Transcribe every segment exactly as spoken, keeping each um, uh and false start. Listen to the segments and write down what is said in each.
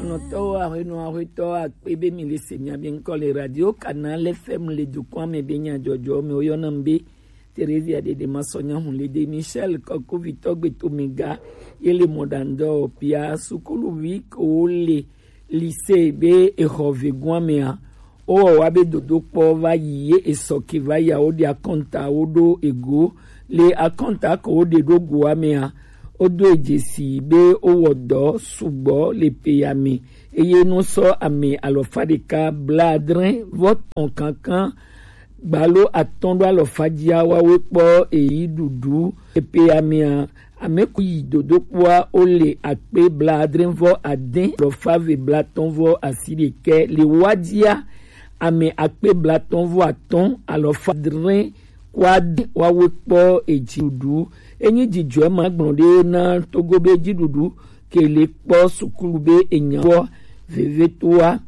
Nɔtɔwo, aƒenɔ, aƒetɔ, akpe be mi le se mia be ŋkɔ le Radio Canal F M le dukɔa me be nyadzɔdzɔ me woyɔna m be Theresia Dede Masɔnya Hunlede Michel Kɔkuvitɔ Gbetomega ye le mɔɖaŋdɔ pia sukuluvi kewo le lycée be exɔ vegoa mea, wowɔ wa be dodokpɔ va yi ye esɔ ke va yi a, woɖe akɔnta woɖo ego. Le akɔnta ke woɖe ɖo goa mea, wodo edzesi be wowɔ dɔ sugbɔ le peya me eye nusɔ ame alɔfa ɖeka blaadre vɔ tɔn kankan gbalo atɔn ɖo alɔfa dzia wawe kpɔ eyi ɖuɖu epeya mea, ame ku yi dodokpoa wole akpe blaadre vɔ ade alɔfa ve blatɔn vɔ asi ɖekɛ le wa dzia, ame akpe blatɔn vɔ atɔn alɔfa dre kua de wawe kpɔ edziɖuɖu. Enyi dzidzɔe ma gblɔ ɖe na Togo be dziɖuɖu ke le kpɔ sukulu be enya wɔ vevetoa.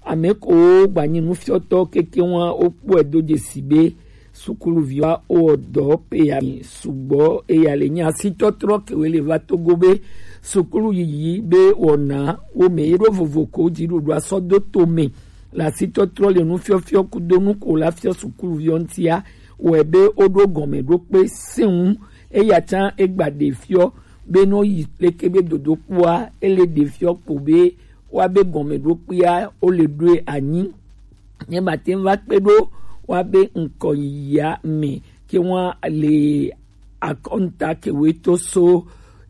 Ame ko gbanyi nufiɔtɔ keke wa wokpɔe do dzesi be sukuluviwa wowɔ dɔ peya mi sugbɔ eya le nyi asitɔtrɔ kewe le va Togo be sukulu yiyi be wɔna wo me ye ɖo vovo ko dziɖuɖua sɔ do to me le asitɔtrɔ le nufiɔfiɔ kudo nu ko la fiɔ sukuluviɔ ŋtia wɔe be woɖo gɔme ɖo kpe seŋu. Eya tsã egba ɖe fiɔ be nɔ yi leke be dodokpoa ele ɖe fiɔ kpo be wa be gɔme ɖo kpea wo le ɖoe anyi. Ne ba te va kpe ɖo wa be ŋkɔ yiyia me ke wa le akɔnta kewe to so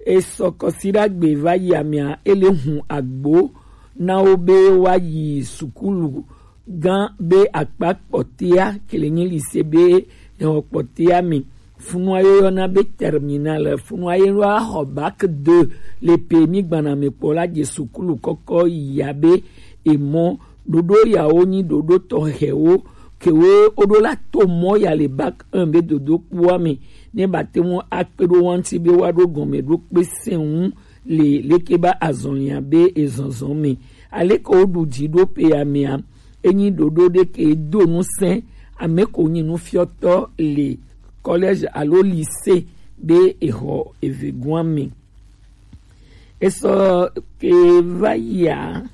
esɔ kɔsiɖagbe va yi amea ele hun agbo na wo be wa yi sukulu gã be akpa kpɔtea ke le nyi lycée be exɔ kpɔtea me. Funua ye woyɔna be terminale, funua ye wa xɔ bac deux le pe mi gbana me kpɔ la dze sukulu kɔkɔ yi abe emɔ ɖoɖo yawo nyi ɖoɖo tɔxɛwo kewo woɖo la to mɔ ya le bac un be dodokpoa me ne ba te ŋu akpe ɖo wa ŋuti be wa ɖo gɔme ɖo kpe seŋu le leke ba azɔlia be ezɔzɔ me. Aleke woɖu dzi ɖo peya mea, enyi ɖoɖo ɖe ke do ŋusẽ ame ko nyi nufiɔtɔ le collège alo lycée be exɔ evegoa me. Esɔ ke va yia,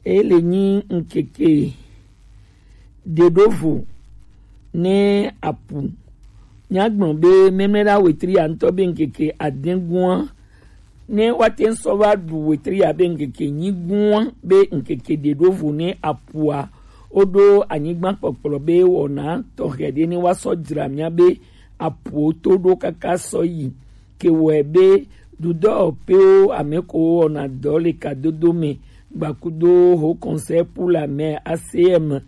ele nyi ŋkeke ɖe ɖo vo ne apu. Míagblɔ be memlɛɖa wetri ya ŋutɔ be ŋkeke adẽgua ne woate ŋu sɔ va ɖu wetri ya be ŋkeke nyigua be ŋkeke ɖe ɖo vo ne apua woɖo anyigba kpɔkplɔ be wɔna tɔxɛ ɖe ne woasɔ dzra mía be apuwo to ɖo kaka sɔ yi ke wɔe be dudɔwɔƒewo ame ko wɔna dɔ le kadodo me gbakudo ho Conseil pour la mer, A C M,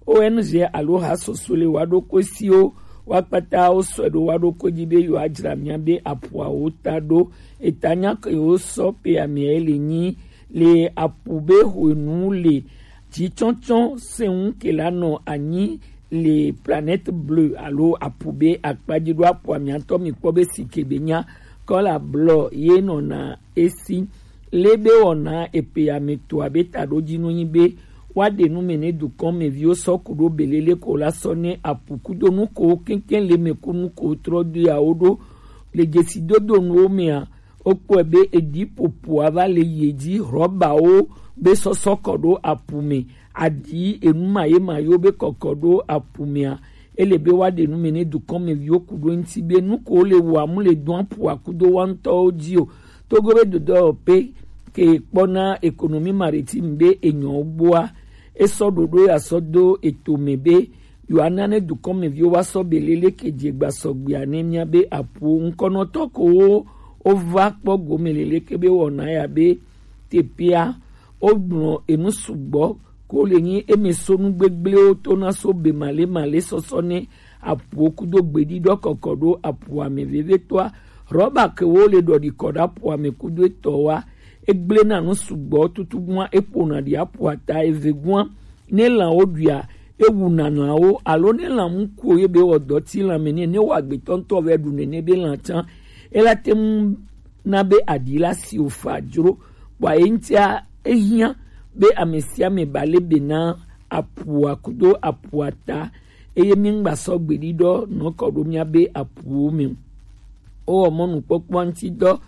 O N G alo ha soso le wa ɖokui siwo wa kpata wo sɔe ɖo wa ɖokui dzi be yewoadzra mía be apuawo ta ɖo. Eta nya ke wo sɔ pe amea le nyi le apu be hwenu le dzitsɔtsɔ seŋu ke la nɔ anyi le Planète Bleue alo apu be akpa dzi ɖo apua mía ŋutɔ mi kpɔ be si ke be nya kɔla blɔ ye nɔna esi. Le be wɔna epe ame to abe taɖodzinu nyi be woaɖe nu me ne dukɔmeviwo sɔ ku ɖo belele ko la sɔ ne apu kudo nu ko keŋkeŋ le me ku nu ko trɔ do ya wo ɖo le dzesidodo nuwo mea, wokpɔe be edi ƒoƒoa va le ye dzi, rɔbawo be sɔsɔ kɔ ɖo apu me, aɖi enu ma ye ma yewo be kɔkɔ ɖo apu mea, ele be woaɖe nu me ne dukɔmeviwo ku ɖo eŋuti be nu ko le wɔa mu le dɔn aƒua kudo wa ŋutɔwo dzi o. Togo be dodɔwɔƒe ke kpɔna économie maritime be enyɔwo gbɔa, esɔ ɖoɖo ya sɔ do eto me be yewoana ne dukɔmeviwo wa sɔ belele ke dze gba sɔgbea ne mía be aƒuwo ŋkɔnɔtɔ ko wo wova kpɔ gome leleke be wɔna ya be teƒea wogblɔ enu sugbɔ ko le nyi eme so nu gbegblẽwo to na so be male male sɔsɔ ne apuwo kudo gbeɖiɖɔ kɔkɔ ɖo apua me vevitɔa. Rɔba ke wo le ɖɔɖi kɔ ɖe apua me kudo etɔ wa, egblẽ na nu sugbɔ tutu gua eƒona ɖi apua ta eve gua ne lãwo ɖuia ewu na lãwo alo ne lã mu kuo ye be wɔ dɔ ti lã me ne ne wɔ agbetɔ ŋutɔ vɛ ɖu nene be lã tsã ela te ŋu na be aɖi la si wòfa dzro. Kpɔa ye ŋutia ehiã be ame sia ame ba le be na aƒua kudo aƒua ta, eye míŋgba sɔ gbeɖiɖɔ nɔ kɔ ɖo míabe aƒuwo me o. Wowɔ mɔnukpɔkpɔ ŋuti dɔ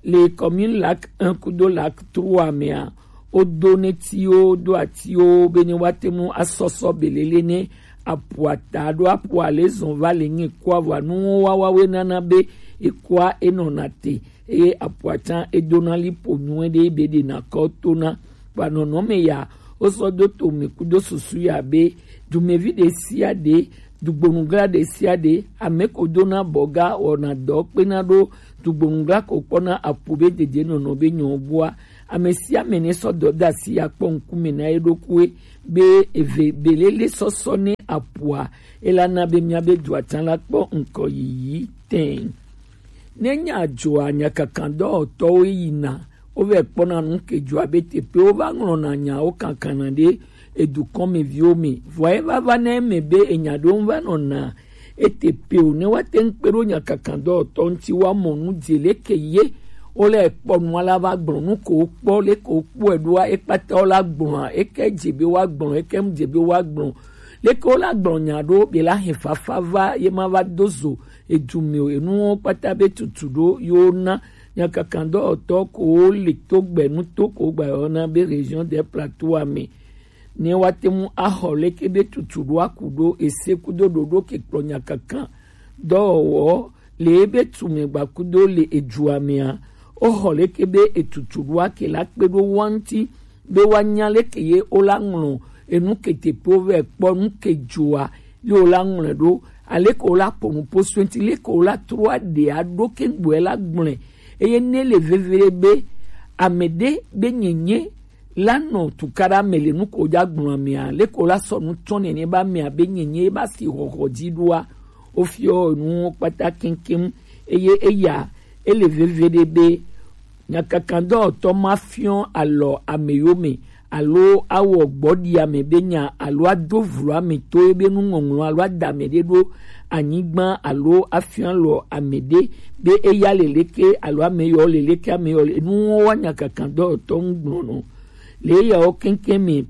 le commune Lac un kudo Lac trois mea, wodo netiwo, do atiwo be ne woate ŋu asɔsɔ belele ne aƒua ta ɖo aƒua le zɔn va le ŋe kɔa vɔa nuwo wawawoe nana be ekɔa enɔna te eye aƒua tsã edona liƒo nyuie ɖe be ɖena kɔ tona. Kpa nɔnɔme ya wosɔ do to mi kudo susu ya be dumevi ɖe sia ɖe, dugbonugla ɖe sia ɖe, ame ko dona bɔga wɔna dɔ kpena ɖo dugbonugla ko kpɔna aƒu be dedienɔnɔ be nyɔ gbɔa, ame sia ame ne sɔ dɔdeasi ya kpɔ ŋkume na ye ɖokuiwe be eve belele sɔsɔ ne aƒua, ela na be mía be dua tsã la kpɔ ŋkɔ yiyi tɛn. Ne nya dzɔa, nyakakan dɔwɔtɔwo yina, wovɛ kpɔna nu ke dzɔa be teƒe wova ŋlɔna nyawo kankana ɖe edukɔmeviwo me. Vɔa eva va na eme be enya ɖewo va nɔna eteƒe o, ne woate ŋu kpe ɖo nyakakan dɔwɔtɔ ŋuti woamɔ nu dze leke ye wole kpɔ nua la va gblɔ nu ko wokpɔ, leke wokpɔe ɖoa ekpata wola gblɔa, eke dze be woagblɔ, eke mu dze be woagblɔ, leke wola gblɔ nya ɖo be la he fafa va ye ma va do zo edu me o, enuwo kpata be tutu ɖo yewo na nyakakan dɔwɔtɔ ko wo le to gbe nuto ko gba yɔ na be région des plateaux me. Ne woate ŋu axɔ leke be tutu ɖo aku ɖo ese kudo ɖoɖo ke kplɔ nyakakan dɔwɔwɔ le ebe tume gba kudo le edua mea, woxɔ leke be etutu ɖo ake la kpe ɖo wa ŋuti be woanya leke ye wola ŋlɔ enu ke teƒe wovɛ kpɔ nu ke dzoa ye wola ŋlɔe ɖo, aleke wola ƒo nu ƒo so ŋuti, leke wola trɔ aɖe aɖo ke gbɔe la gblɔe. Eye ne le veve ɖe be ame ɖe be nyenye la nɔ tukaɖa me le nu ko dza gblɔ amea, leke wola sɔ nu tsɔ nene be amea be nyenye ba si xɔxɔ dzi ɖoa, wofiɔ nuwo kpata keŋkeŋ. Eye eya ele veve ɖe be nyakakan dɔwɔtɔ ma fiɔ alɔ ame yome alo awɔ gbɔɖi ame be nya alo ado vlo ame to ebe nuŋɔŋlɔ alo ada ame ɖe ɖo anyigba alo afia lɔ ame ɖe be eya le leke alo ame yɔ le leke ame yɔ le nuwo wa nyakakan dɔwɔtɔ ŋu gblɔ nɔ le eyawo keŋkeŋ me.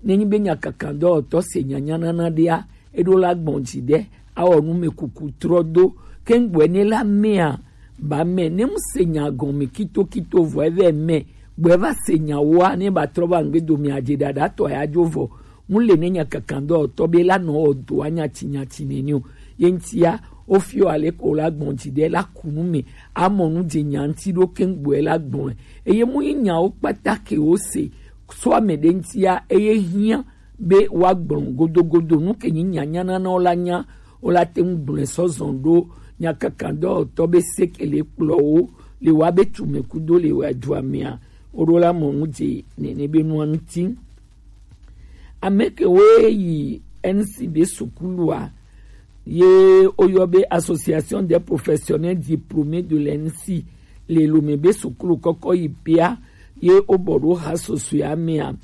Nenyi be nyakakan dɔwɔtɔ se nyanyanana ɖea, eɖo la gbɔn dzi ɖe awɔ nu me kuku trɔ do keŋgbɔe ne la mea ba mɛ ne mu se nya gɔn mi kito kito vɔ evɛ mɛ gbɔe va se nya woa ne ba trɔ va ŋgbe do mi adze ɖaɖa tɔ ya dzo vɔ mu le ne nya kakan dɔ tɔ be la nɔ ɔ do anya tsi nya tsi nene o. Ye ŋtia wo fiɔ ale ko la gbɔn dzi ɖe la ku nu me amɔ nu dze nya ŋti ɖo keŋgbɔe la gbɔn eye mu yi nyawo kpata ke wo se so ame ɖe ŋtia eye hiã be woagblɔ godogodo nu ke nyi nyanya nana wo la nya wo la te ŋu gblɔe sɔ zɔn ɖo nyakakan dɔwɔtɔ be sekele kplɔ wo le wa be tume kudo le wa dua mea wo ɖo la mɔ nu dze nene be nua ŋti. Ame ke wo yi N C be sukulua ye woyɔ be Association des Professionnels Diplômés de l'N C le Lomé be sukulu kɔkɔ yi pia ye wobɔ ɖo ha sosoe amea.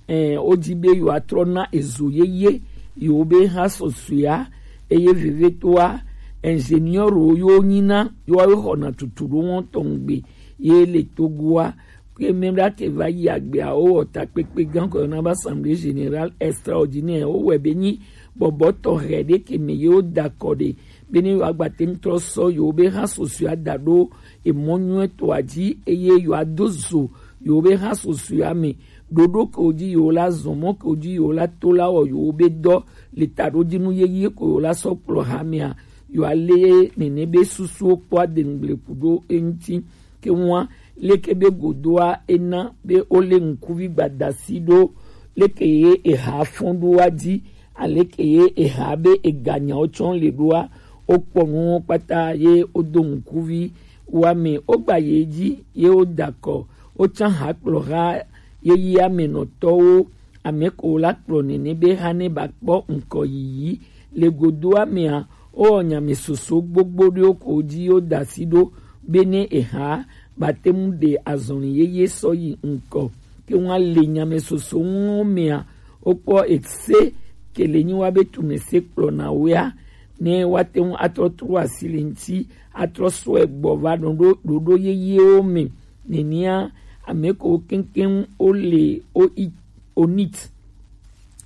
Ɛɛ, wodi be yewoatrɔ na ezo yeye yewo be ha sɔsɔea eye vevetoa ingénieur wo yewo nyina yewoawo xɔna tutu ɖo wɔn tɔn gbe ye le Togoa ke mɛ ɖa ke va yi agbea wo wɔ takpekpe gã kɔ yɔna be assemblée générale extraordinaire wo wɛ be nyi bɔbɔ tɔxɛ ɖe ke me yewo da kɔ ɖe be ne yewo agba te ŋu trɔ sɔ yewo be ha sɔsɔea da ɖo emɔ nyuietɔa dzi eye yewoado zo yewo be ha sɔsɔea me ɖoɖo ke wo dzi yewo la zɔn mɔ ke wo dzi yewo la to la wɔ yewo be dɔ le taɖodinu yeye ko yewo la sɔ kplɔ hamea yewo ale nene be susuwo kpɔ adeŋgble ku ɖo eŋuti ke ŋua leke be godoa ena be wo le ŋkuvi gbadasi ɖo leke ye eha fɔn ɖoa dzi aleke ye eha be eganyawo tsɔ le ɖoa wo kpɔ nuwo kpata ye wo do ŋkuvi wa me wo gba ye dzi ye wo da kɔ wo tsã ha kplɔ ha yeyea me nɔtɔwo ame ko la kplɔ nene be hane ba kpɔ ŋkɔ yiyi le godoa mea wo wɔ nyame soso gbogbo ɖewo ko dzi wo da si ɖo be ne eha ba te ŋu ɖe azɔli yeye sɔ yi ŋkɔ ke ŋua le nyame soso ŋuwo mea wo kpɔ ese ke le nyi wa be tume se kplɔ na wea ne woate ŋu atrɔ tro asi le ŋuti atrɔ sɔe gbɔ va ɖoɖo ɖoɖo yeyewo me. Nenea ame ko keŋkeŋ wo le o i onit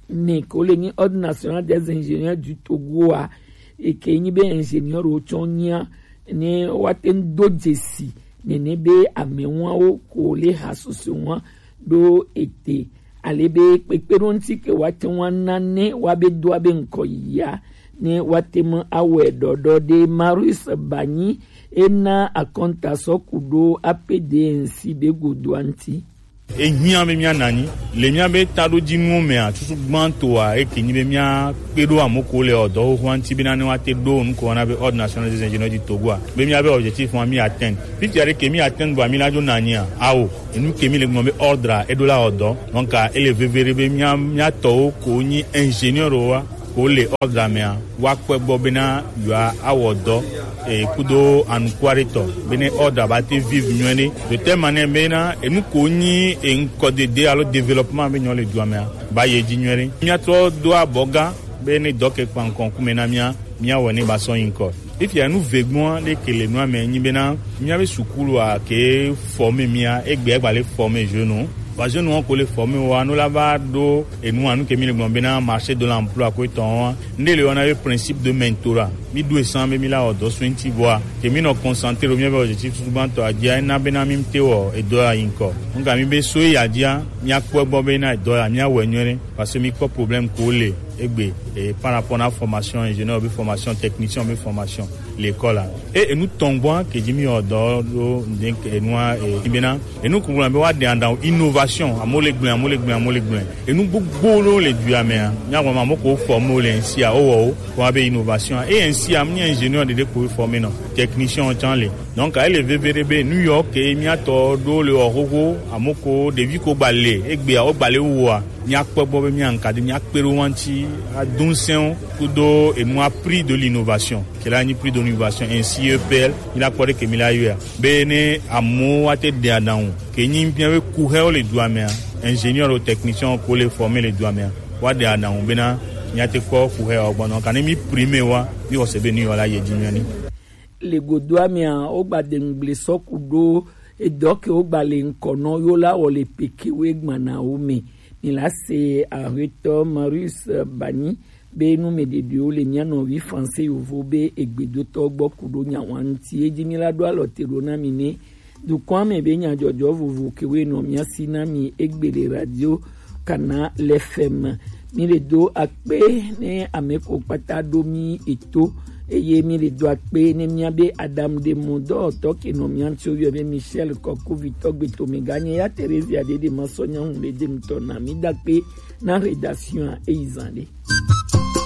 me ko le nyi Ordre National des Ingénieurs du Togo a eke nyi be ingénieur wo tsɔ nyia ne woate ŋu do dzesi nene be amewawo ko le ha sɔsɔe wa ɖo ete ale be kpekpeɖoŋuti ke woate ŋu ana ne woabe doa be ŋkɔ yia ne woate ŋu awɔe ɖɔɖɔ ɖe. Marius Banyi ena akɔnta sɔ ku ɖo A P D N C be godoa ŋuti. Ehiã be míana anyi le míabe taɖodzinuwo mea, susu gbãtɔa eke nyi be míakpe ɖo ame kewo le ɔ dɔ xoxoa ŋuti bena ne woate ɖo nu ke woyɔna be Ordre National des Ingénieurs du Togo a, be míabe objectif ma mí atteindre. Fifia ɖe ke mí atteindre vɔa mí la dzo na anyia? Ao, enu ke mí le gblɔ be ordre a, eɖo la wɔ dɔ. Donc ele veve ɖe be mía mía tɔwo ko nyi ingénieur wa ko le ordre mea, woakpɔe gbɔ bena yewoa awɔ dɔ e kudo anukuaɖetɔ bene ordre ba te vivre nyuie ɖe. De telle manière bena enu ko nyi e ŋkɔdede alo développement be nyɔ le dua mea ba yi edzi nyuie ɖe. Míatrɔ do abɔga be ne dɔ ke kpa ŋkɔ ŋkume na mía, míawɔe ne ba sɔ yi ŋkɔ. Fifia nu vegbɔa ɖe ke le nua me nyi bena míabe sukulua ke forme mía, egbea gba le forme jeune. Vɔa jeune wo ko le forme wa no la va ɖo enu anu ke mí le gblɔ bena marché de l'emploi ko etɔn wa. Nde le wɔna be principe de mentorat. Mí ɖo esan be mí la wɔ dɔ so ŋuti vɔa ke mí nɔ concentré ɖo míabe objectif tutugbãtɔ a dzia, ena bena mí te wɔ edɔ ya yi ŋkɔ. Ŋka mí be so ya dzia, míakpɔ egbɔ bena edɔ ya míawɔe nyuie ɖe. Parce que mí kpɔ problème ko le egbe e, par rapport na formation ingénieur be formation technicien be formation l'école a. E enu tɔn gbɔa ke dzi mí wɔ dɔ ɖo ŋde enua e bena enu kugula be wa de adan innovation, amo le gblẽ, amo le gblẽ, amo le gblẽ. Enu gbogbo ɖo le dua mea, mía gblɔ ma amo ko forme le ŋsia, o wɔ o, wa be innovation. E ŋsia, mí ingénieur ɖeɖe ko forme nɔ, technicien tsan le. Donc ele veve ɖe be nu yɔ ke mía tɔ ɖo le wɔ xoxo, amo ko ɖevi ko gba le egbea wo gba le woa, míakpɔ gbɔ be míaŋka ɖi, míakpe ɖo wo ŋuti, ado ŋusẽ wo kudo enua prix de l'innovation. Ke la nyi prix de l'innovation, ainsi E P L, mí la kpɔ ɖe ke mí la yɔa. Be ne amewo wa te ɖe aɖaŋu ke nyi míabe kuxewo le dua mea, ingénieur alo technicien ko le formé le dua mea, wa ɖe aɖaŋu bena míate kpɔ kuxewo gbɔ nɔ. Kane mí primé wa, mí xɔse be nu yɔ la yi edzi nyuie ɖe. Le godoa mea, wogba de ŋugble sɔ ku ɖo edɔ ke wogba le ŋkɔ nɔ yo la wɔ le peke we gbana wo me. Ni la se ahetɔ Marius Banyi be nu me ɖeɖewo le mía nɔvi français yovo be egbedotɔ gbɔ ku ɖo nya wa ŋuti. Edzi mi la ɖo alɔ te ɖo na mi ne dukɔa me be nyadzɔdzɔ vovo ke we nɔ mía si na mi egbe le radio Kana le F M. Mi le do akpe ne ame ko kpata ɖo mi eto, eye mi le do akpe ne mía be Adam de mo dɔwɔtɔ ke nɔ mía ŋuti wo yɔ be Michel Kɔkovitɔ gbe to me ganye ya Theresia ɖe ɖe ma sɔ nyaŋu le de ŋutɔ na mi da akpe na rédaction a eyi zan ɖe.